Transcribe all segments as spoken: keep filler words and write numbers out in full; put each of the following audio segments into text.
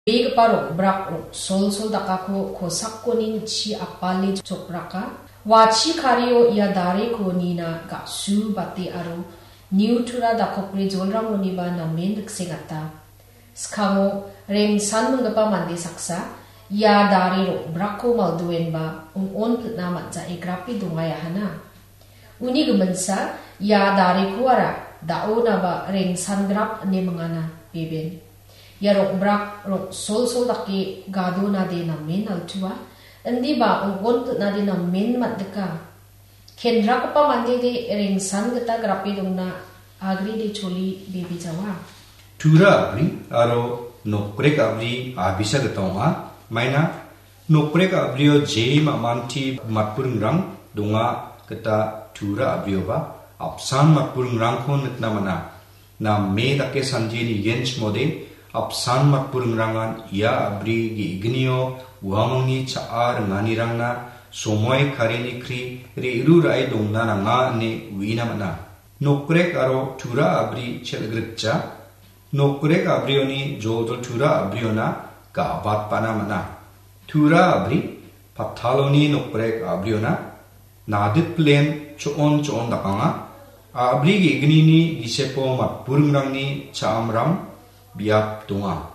Begipa rong·brak rong·solsol dakako kosakkonin chi apale jokraka. Wachi kario ia dareko nina ga·su bate aro niutura dakopre jolrangoniba namen riksengata. Skango rengsan minggipa mande saksa ia dare rong·brakko maldoenba ong·on pilna man·jae grape dongaiahana. Uni giminsa ia dareko ara da·onaba rengsangrap ine mingana, beben. Ia rong·brak rong·solsol dake gadonade namen altua, indiba ong·on pilnade namen man·dika. Kendrakgipa mandede rengsan gita grape dongna agrede choli bebejawa. Tura a·bri aro nokrek a·bri a·bisa gita ong·a. Maina nokrek a·brio je ma·manti matburingrang donga gita tura a·brioba apsan matburingrangko nikna man·a. Name dake sandie nigenchimode, apsan matburingrangan ia a·bri ge·gnio uamangni cha·a ringanirangna somoi karini kri re·ru ra·e dongna nanga ine uina man·a. Nokrek aro tura a·bri chel·grikja. Nokrek a·brioni joljol tura a·briona ga·batbana man·a. Tura a·bri pataloni nokrek a·briona nadikplen cho·on cho·on dakanga. A·bri ge·gnini gisepo matburingrangni cha·amram biap donga.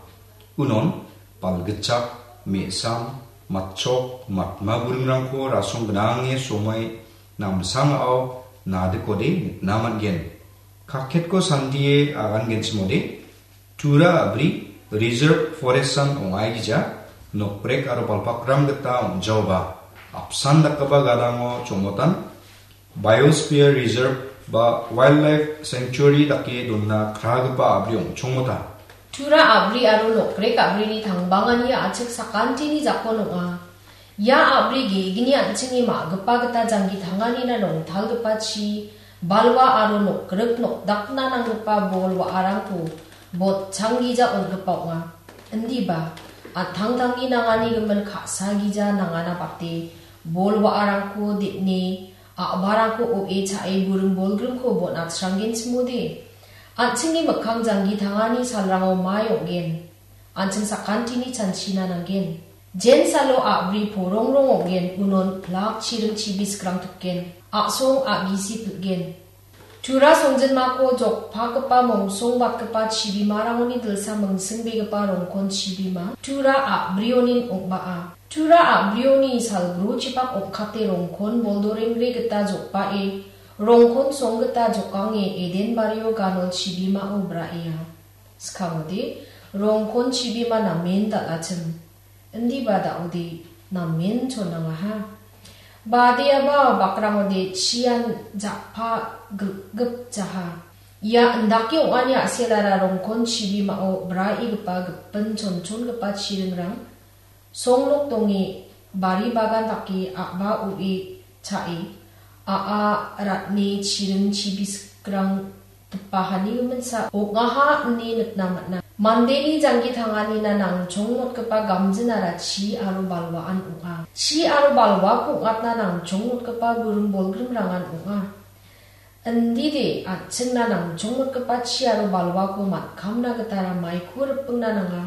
Unon balgitchak, me·sam, matchok, matma buringrangko rasong gnange somoi namsangao nadikode nikna man·gen. Kaketko sandie agangenchimode, tura a·bri reserve forest-an ong·aigija, nokrek aro balpakram gita ong·jaoba, apsan dakgipa gadango chongotan, biosphere reserve ba wildlife sanctuary dake donna kragipa a·bri ong·chongmota. Tura a·bri aro nokrek a·brini tangbangani a·chik sakantini jakon ong·a. Ia a·bri ge·gni an·chingni ma·gipa gita janggi tanganina rongtalgipa chi, balwa aro nokgrik nokdakna nanggipa bol wa·arangko botchanggija on·gipa ong·a. Indiba, an·tangtangni nangani gimin ka·sagija nangana bate, bol wa·arangko de·ne, a·barangko o·e cha·e buring bolgrimko bon·atranggenchimode. An·chingni mikkang janggi tangani salrango mai ong·gen. An·ching sakantini chanchina nanggen. Jensalo a·bri porongrong ong·gen, unon plak chiring chibiskrang tokgen. A·song a·gisi pil·gen. Tura songjinmako jokpagipa mongsongbatgipa chibimarangoni dilsa mingsingbegipa rongkon chibima tura a·brionin ong·baa. Tura a·brioni salgrochipak ong·kate rongkon boldorengre gita jokbae, rongkon song gita jokange Eden bario ganol chibimao braea. Skamode, rongkon chibima namen dal·achim. Indiba da·ode namen chonangaha. Badeaba bakrangode chian ja·pa gilgipjaha. Ia indake ong·ani a·selara rongkon chibimao braegipa gipin chonchongipa chiringrang songnok donge, bari bagan dake a·ba o·e cha·e, a·a ratni chiring chibiskrang dipahani giminsa ong·aha ine nikna man·a. Mandeni janggi tanganina nangchongmotgipa gamjinara chi aro balwaan ong·a. Chi aro balwako ong·atna nangchongmotgipa buring bolgrimrangan ong·a. Indide an·chingna nangchongmotgipa chi aro balwako man·kamna gitara maiko ripingna nanga.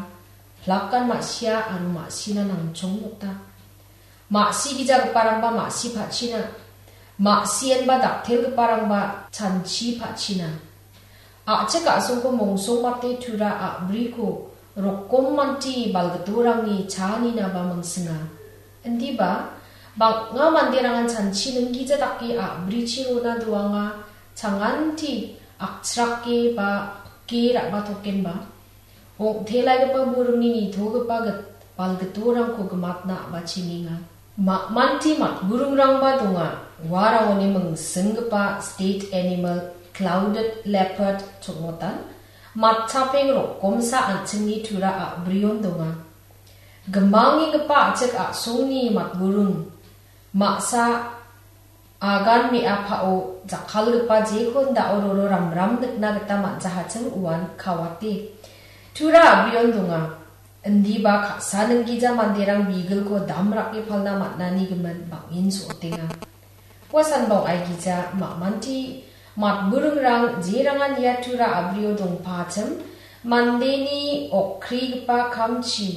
Plakan ma·sia aro ma·sina nangchongmota. Ma·sigijagiparangba ma·si pachina. Ma·sienba daktelgiparangba chanchi pachina. A·chik a·songko mongsongmate tura a·briko rokommanti balgitorangni chaaninaba mingsinga. Indiba, bang·a manderangan chanchi ninggija dake a·brichi rona doanga, changanti akchrake ba pike ra·batokenba, ong·telaigipa buringni nitogipa git-, balgitorangko gimatna a·bachengenga. Ma-, manti matburingrangba donga, uarangoni mingsinggipa state animal clouded leopard chongotan, matchapeng rokomsa an·chingni tura a·brion donga. Gimangenggipa a·chik a·songni matburing, ma·sa agan me·apao jakkalgipa jekon da·o roro ramram nikna gita man·jahachim uan kawate. Tura a·brion donga. Indiba ka·sa ninggija manderang bigilko damrake palna man·ani gimin bang·en so·otenga. Ua sanbong aigija ma·manti matburingrang jerangan ia tura a·brio dongpachim mandeni okrigipa kamchi